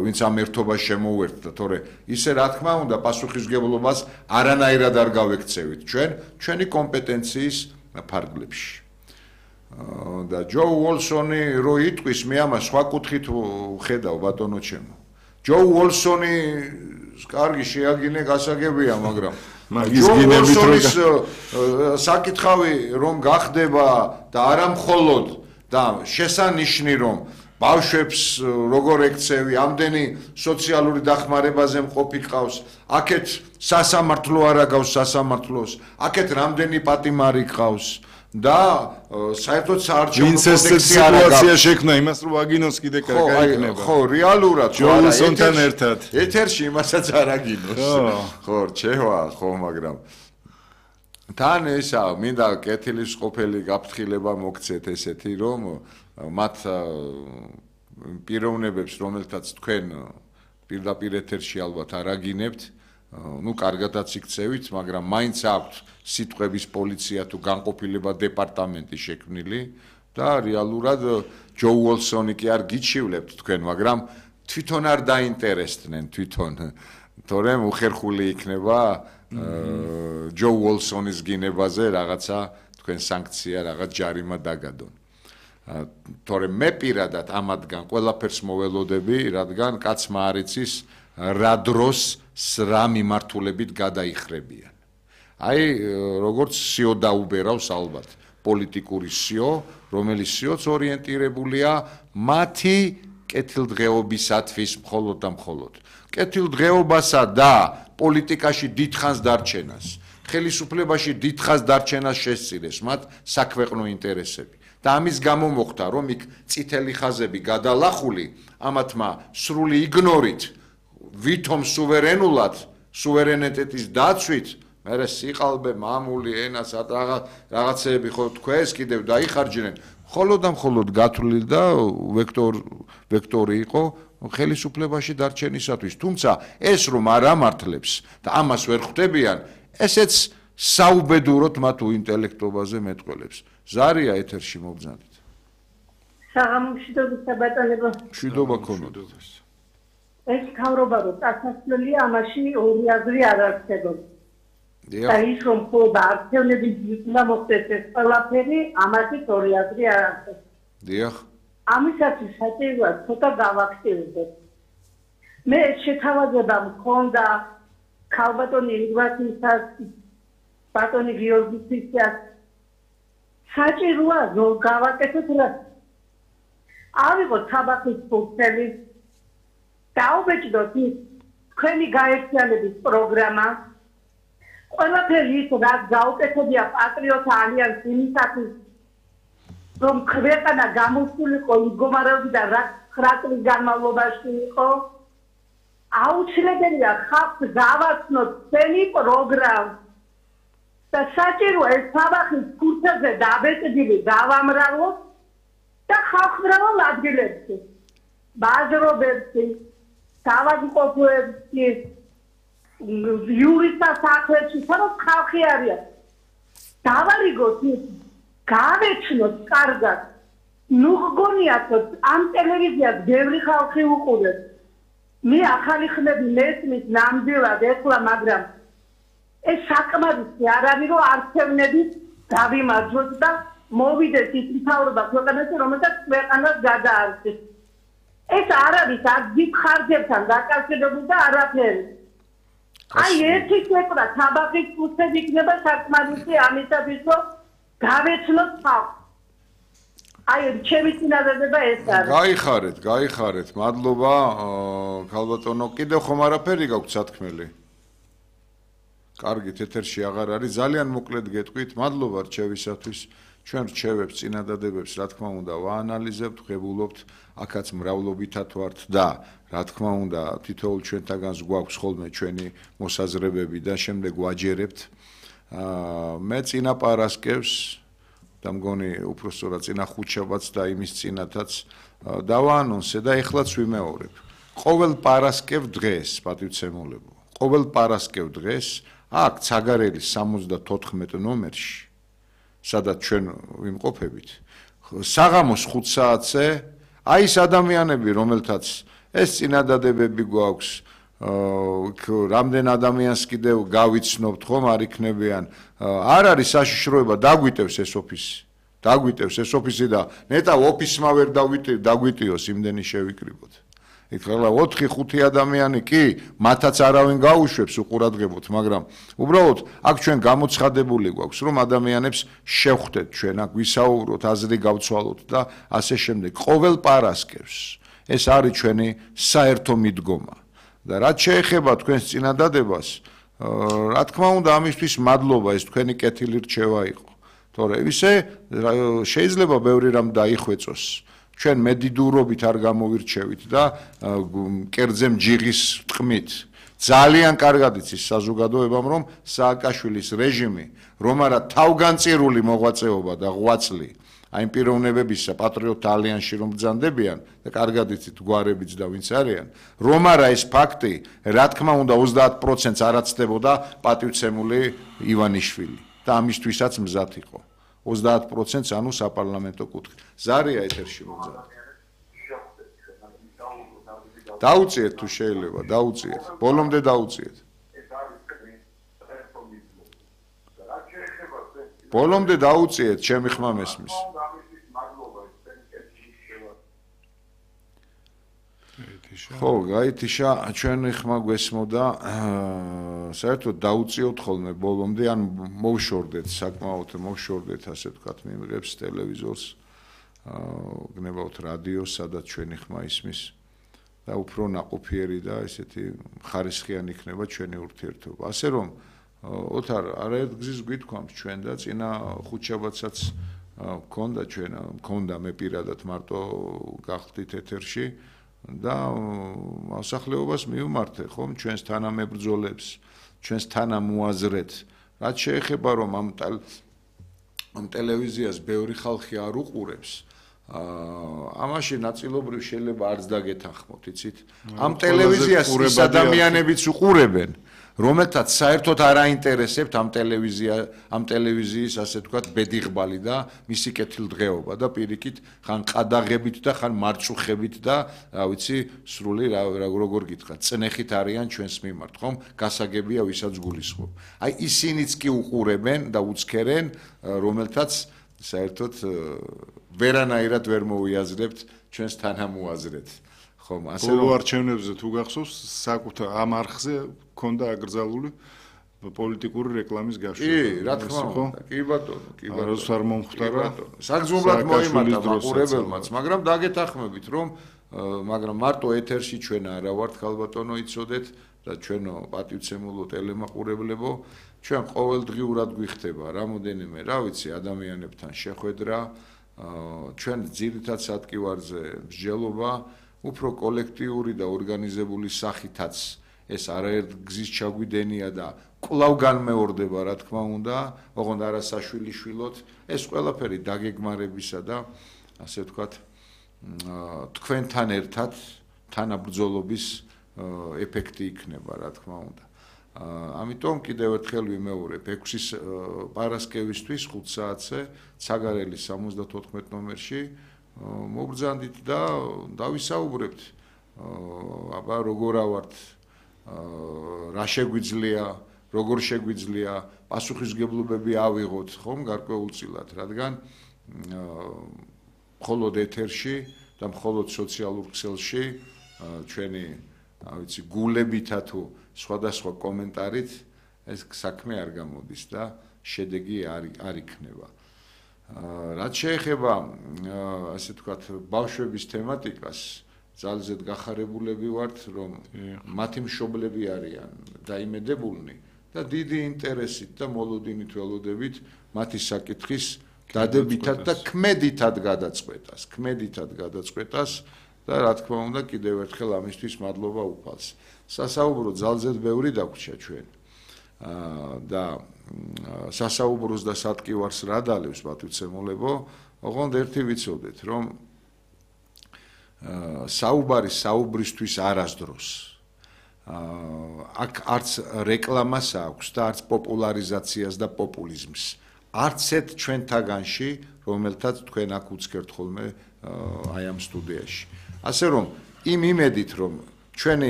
ვინც ამ ერთობას შემოუერთდა, თორე ისე რა თქმა უნდა პასუხისმგებლობას არანაირად არ გავექცევით ჩვენი კომპეტენციის ფარგლებში. და ჯო უოლსონი რო იტყვის, მე ამას სხვა კუთხით ხედავ ბატონო ჩემო. ჯო უოლსონი კარგი შეაგინე გასაგებია, მაგრამ ჯო უოლსონის საკითხავი რომ გახდება და არა მხოლოდ და შესანიშნი რომ ბავშვებს როგორ ექცევი, ამდენი სოციალური დახმარებაზე მყოფი ყავს, აქეთ სასამართლო არ აგავს სასამართლოს, აქეთ რამდენი პატიმარი ყავს და საერთოდ საარჩევნო კოდექსი არ აგავს. სიტუაცია შექმნა იმას, რომ აგინოს კიდე კარგი იქნება. ხო, რეალურად ჯონსონთან ერთად. ეთერში იმასაც არ აგინოს. ხო, რჩევა, ხო, მაგრამ თან ესა მინდა კეთილის ყოფილი გაფრთხილება მოგცეთ ესეთი რომ მათ პიროვნებებს რომელთაც თქვენ პირდაპირ ეთერში ალბათ არ აგინებთ, ну კარგადაც იქცევით, მაგრამ მაინც აქვთ სიტყვების პოლიცია თუ განყოფილება დეპარტამენტი შექმნილი და რეალურად ჯო უოლსონი კი არ გიჩივლებთ თქვენ, მაგრამ თვითონ არ დაინტერესდნენ თვითონ, თორემ უხერხული იქნება ჯო უოლსონის გინებაზე რაღაცა თქვენ სანქცია, რაღაც ჯარიმა დაგადონ. თორემ მე პირადად ამათგან ყველაფერს მოველოდები, რადგან კაცმა არ იცის რა დროს რა მიმართულებით გადაიხრებიან. აი, როგორც სიო დაუბერავს ალბათ, პოლიტიკური სიო, რომელიც სიოც ორიენტირებულია მათი კეთილდღეობისათვის მხოლოდ და მხოლოდ. კეთილდღეობასა და პოლიტიკაში დიდხანს დარჩენას, ხელისუფლებაში დიდხანს დარჩენას შესწირეს მათ საქვეყნო ინტერესები. და ამის გამო მოხდა, რომ იქ წითელი ხაზები გადალახული, ამათმა სრული იგნორით, ვითომ სუვერენულად, სუვერენიტეტის დაცვით, მერე სიყალბე, მამული, ენას, რაღაცეები ხო თქვენს კიდევ დაიხარჯნენ, მხოლოდ და მხოლოდ გათვლილი და ვექტორი იყო ხელისუფლებაში დარჩენისათვის. თუმცა ეს რომ არ ამართლებს და ამას ვერ ხვდებიან, ესეც საუბედუროთ მათ უინტელექტობაზე მეტყველებს. ზარია ეთერში მოგზავნით. საღამომშვიდობისა ბატონებო. მშვიდობა ქონოდეთ. ეს თავრობა რომ წასასვლელია, ამაში ორი აზრი არ არსებობს. და ის რომ ხოდა არჩევნების ძიება მოხდეს ეს ყველაფერი, ამაშიც ორი აზრი არ არსებობს. დიახ. ამისათვის საჭიროა ცოტა გავაქტიურდეთ. მე შეთავაზება მქონდა ქალბატონი ირგვათისას, ბატონი გიორგისის საჭიროა რომ გავაკეთოთ რა. ავიღოთ საბახის ფუნქციები, დაუბეჭდოთ თქვენი გაერთიანების პროგრამა, ყველაფერი ის რაც გაუკეთებია პატრიოტთა ალიანსი იმისათვის, რომ ქვეყანა გამოსულიყო მდგომარეობიდან რაც 9 წლის განმავლობაში იყო, აუცილებელია ხალხს გავაცნოთ თქვენი პროგრამა. და საჭიროა ეს საბახის ფურცელზე დაბეჭდილი გავამრავლოთ და ხალხმრავალ ადგილებში, ბაზრობებში, თავადმყოფოებში, იურისტთა სახლებში, სადაც ხალხი არის. დავარიგოთ ის, გავეცნოთ კარგად. ნუ გგონიათ, ამ ტელევიზიას ბევრი ხალხი უყურებს. მე ახალი ხმები მესმის ნამდვილად ეხლა, მაგრამ ეს საკმარისი არ არის, რომ არჩევნებით დავიმარჯვოთ და მოვიდეს ის მთავრობა ქვეყანაში, რომელსაც ქვეყანას გადაარჩევს. ეს არ არის აქ დიდ ხარჯებთან დაკავშირებული და არაფერი. აი ერთი ქვეყნა საბახის ფურცელი იქნება საკმარისი ამისათვის, რომ გავეცნოთ ხალხს. აი ჩემი წინადადება ეს არის. გაიხარეთ, მადლობა ქალბატონო, კიდევ ხომ არაფერი გაქვთ სათქმელი? კარგით, ეთერში აღარ არის, ძალიან მოკლედ გეტყვით, მადლობა რჩევისათვის. ჩვენ რჩევებს, წინადადებებს, რა თქმა უნდა, ვაანალიზებთ, ვღებულობთ, აქაც მრავლობითად ვართ და რა თქმა უნდა, თითოეულ ჩვენთაგანს გვაქვს ხოლმე ჩვენი მოსაზრებები და შემდეგ ვაჯერებთ. მე წინა პარასკევს და მგონი უпростоრად წინა ხუთშაბათს და იმის წინათაც დავაანონსე და ეხლაც ვიმეორებ. ყოველ პარასკევ დღეს, პატივცემულებო, ყოველ პარასკევ დღეს აქ ცაგარელის 74 ნომერში, სადაც ჩვენ ვიმყოფებით, საღამოს 5 საათზე, აი ეს ადამიანები, რომელთაც ეს წინადადებები გვაქვს რამდენ ადამიანს კიდევ გავიცნობთ ხომ არ იქნებიან არ არის საშიშროება დაგვიტევს ეს ოფისი და ნეტა ოფისმა ვერ დაგვიტიოს იმდენი შევიკრიბოთ იქ ყველა 4-5 ადამიანი კი მათაც არავინ გაუშვებს უყურადღებოთ მაგრამ უბრალოდ აქ ჩვენ გამოცხადებული გვაქვს რომ ადამიანებს შევხვდეთ ჩვენ აქ ვისაუბროთ აზრი გავცვალოთ და ასე შემდეგ ყოველ პარასკევს ეს არის ჩვენი საერთო მიდგომა და რაც შეეხება თქვენს წინადადებას რა თქმა უნდა ამისთვის მადლობა ეს თქვენი კეთილი რჩევა იყო თორე ისე შეიძლება ბევრი რამ დაიხვეწოს ჩვენ მედიდურობით არ გამოვირჩევით და კერძე მჯიღის ტყმით ძალიან კარგად იცის საზოგადოებამ რომ სააკაშვილის რეჟიმი რომ არა თავგანწირული მოღვაწეობა და ღვაწლი აი პიროვნებებისა პატრიოტთა ალიანსში რომ ბრძანდებიან და კარგად იცით გვარებიც და ვინც არიან რომ არა ეს ფაქტი რა თქმა უნდა 30%-ს არაცდებოდა პატივცემული ივანიშვილი და ამისთვისაც მზად იყო 30%-ს ანუ საპარლამენტო კუთხით ზარია ეთერში მოგზაურობ დაუწიეთ თუ შეიძლება დაუწიეთ ბოლომდე დაუწიეთ ბოლომდე დაუწიეთ ჩემი ხმა მესმის ხო გაითიშა ჩვენი ხმა გვესმოდა საერთოდ დაუწიოთ ხოლმე ბოლომდე ან მოვშორდეთ საკმაოდ მოვშორდეთ ასე ვთქვათ მიმღებს ტელევიზორს გნებავთ რადიოს სადაც ჩვენი ხმა ისმის და უფრო ნაყოფიერი და ესეთი ხარისხიანი იქნება ჩვენი ურთიერთობა ასე რომ ოთარ არაერთ გზის გვითქვამთ ჩვენ და წინა ხუთშაბათსაც მქონდა მე პირადად მარტო გახდით ეთერში და მოსახლეობას მივმართე ხომ ჩვენს თანამებრძოლებს ჩვენს თანამოაზრეთ რაც შეეხება რომ ამ ტელევიზიას ბევრი ხალხი არ უყურებს ამაში ნაწილობრივ შეიძლება არც დაგეთანხმოთ იცით ამ ტელევიზიას ის ადამიანებიც უყურებენ რომელთაც საერთოდ არ აინტერესებთ ამ ტელევიზიის ასე ვთქვათ ბედიღბალი და მისი კეთილდღეობა და პირიქით ხან ყადაღებით და ხან მარწუხებით და რა ვიცი სრული როგორ გითხრათ წნეხით არიან ჩვენს მიმართ ხომ გასაგებია ვისაც გულისხმობ აი ისინიც კი უყურებენ და უცქერენ რომელთაც საერთოდ ვერანაირად ვერ მოუიაზრებთ ჩვენს თანამოაზრეთ ხომ ასე რომ არჩევნებზე თუ გახსოვს საკუთარ ამ არხზე ქონდა აკრძალული პოლიტიკური რეკლამის გაშვება კი რა თქმა უნდა კი ბატონო არც არ მომხდარა საგზნობლად მოიმატა მაყურებელმაც მაგრამ დაგეთანხმებით რომ მაგრამ მარტო ეთერში ჩვენ არა ვართ ხალბატონო იცოდეთ და ჩვენო პატივცემულო ტელემაყურებლებო ჩვენ ყოველდღიურად გვიხდება რამოდენიმე რა ვიცი ადამიანებთან შეხვედრა ჩვენ ძირითად სატკივარზე მსჯელობა უფრო კოლექტიური და ორგანიზებული სახითაც ეს არაერთ გზის ჩაგვიდენია და კვლავ განმეორდება რა თქმა უნდა ოღონდ არასაშვილიშვილოთ ეს ყველაფერი დაგეგმარებისა და ასე ვთქვათ თქვენთან ერთად თანაბრძოლობის ეფექტი იქნება რა თქმა უნდა ამიტომ კიდევ ერთხელ ვიმეორებ 6-ის პარასკევისთვის 5 საათზე ცაგარელის 74 ნომერში მოგბრძანდით და დავისაუბრებთ აბა როგორ ავართ რა შეგვიძლია როგორ შეგვიძლია პასუხისგებლობები ავიღოთ ხომ გარკვეულწილად რადგან მხოლოდ ეთერში და მხოლოდ სოციალურ ქსელში ჩვენი ვიცი გულებითა თუ სხვადასხვა კომენტარით ეს საქმე არ გამოდის და შედეგი არ იქნება რაც შეეხება ასე ვთქვათ ბავშვების თემატიკას ძალზედ გახარებულები ვართ რომ მათი მშობლები არიან დაიმედებულნი და დიდი ინტერესით და მოლოდინით ველოდებით მათი საკითხის დადებითად და ქმედითად გადაწყვეტას და რა თქმა უნდა კიდევ ერთხელ ამისთვის მადლობა უფალს სასაუბრო ძალზედ ბევრი დაგვრჩა ჩვენ და სასაუბროს და სატკივარს რა დალევს პატივცემულებო ოღონდ ერთი ვიცოდეთ რომ საუბარი საუბრისთვის არასდროს აქ არც რეკლამას აქვს და არც პოპულარიზაციას და პოპულიზმს არც ერთ ჩვენთაგანში რომელთაც თქვენ აქ უცქერთ ხოლმე აი ამ სტუდიაში ასე რომ იმ იმედით რომ ჩვენი